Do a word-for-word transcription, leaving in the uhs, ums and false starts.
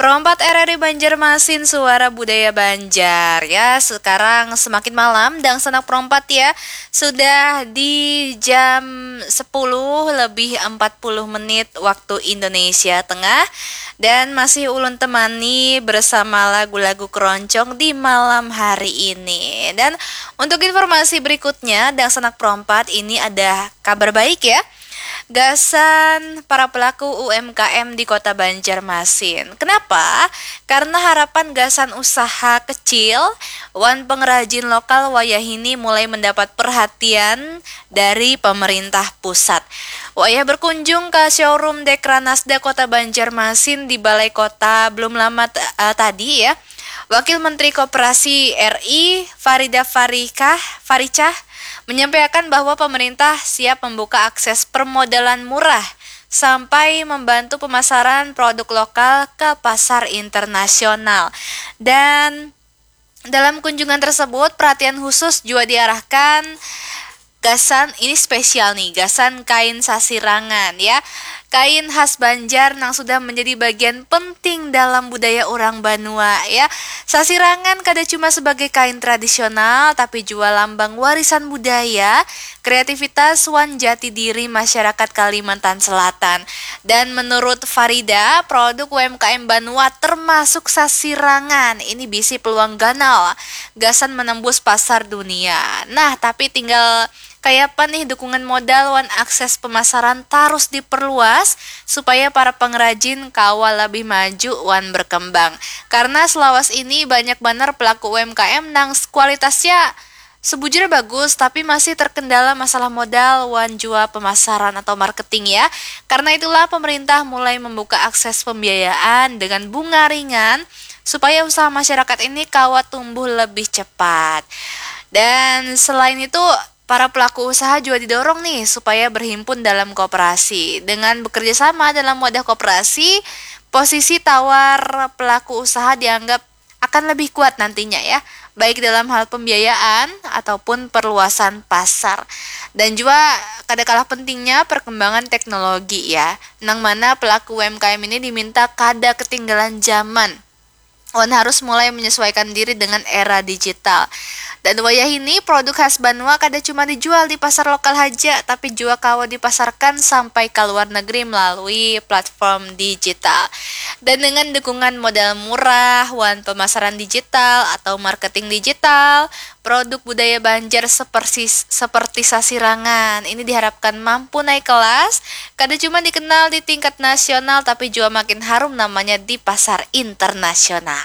Perompat R R I Banjarmasin, suara budaya Banjar. Ya, sekarang semakin malam, dangsanak perompat ya. Sudah di jam sepuluh lebih empat puluh menit waktu Indonesia Tengah. Dan masih ulun temani bersama lagu-lagu keroncong di malam hari ini. Dan untuk informasi berikutnya, dangsanak perompat, ini ada kabar baik ya. Gasan para pelaku U M K M di Kota Banjarmasin. Kenapa? Karena harapan gasan usaha kecil wan pengrajin lokal wayahini mulai mendapat perhatian dari pemerintah pusat. Wayah berkunjung ke showroom Dekranasda Kota Banjarmasin di Balai Kota belum lama t- eh, tadi ya, Wakil Menteri Koperasi R I Farida Farikah Faricah menyampaikan bahwa pemerintah siap membuka akses permodalan murah sampai membantu pemasaran produk lokal ke pasar internasional. Dan dalam kunjungan tersebut, perhatian khusus juga diarahkan gasan, ini spesial nih, gasan kain sasirangan ya. Kain khas Banjar nang sudah menjadi bagian penting dalam budaya orang banua ya. Sasirangan kada cuma sebagai kain tradisional, tapi juga lambang warisan budaya, kreativitas wan jati diri masyarakat Kalimantan Selatan. Dan menurut Farida, produk U M K M Banua termasuk sasirangan ini bisi peluang ganal gasan menembus pasar dunia. Nah, tapi tinggal kayapa nih dukungan modal wan akses pemasaran tarus diperluas supaya para pengrajin kawa lebih maju wan berkembang. Karena selawas ini banyak banar pelaku U M K M nang kualitasnya sebujur bagus, tapi masih terkendala masalah modal wan jua pemasaran atau marketing ya. Karena itulah pemerintah mulai membuka akses pembiayaan dengan bunga ringan supaya usaha masyarakat ini kawa tumbuh lebih cepat. Dan selain itu, para pelaku usaha juga didorong nih supaya berhimpun dalam koperasi. Dengan bekerja sama dalam wadah koperasi, posisi tawar pelaku usaha dianggap akan lebih kuat nantinya ya, baik dalam hal pembiayaan ataupun perluasan pasar. Dan juga kada kalah pentingnya perkembangan teknologi ya, nang mana pelaku U M K M ini diminta kada ketinggalan zaman wan harus mulai menyesuaikan diri dengan era digital. Dan wayah ini produk khas Banua kada cuma dijual di pasar lokal haja, tapi juga kawa dipasarkan sampai ke luar negeri melalui platform digital. Dan dengan dukungan modal murah wan pemasaran digital atau marketing digital, produk budaya Banjar seperti seperti sasirangan ini diharapkan mampu naik kelas, kada cuma dikenal di tingkat nasional tapi juga makin harum namanya di pasar internasional.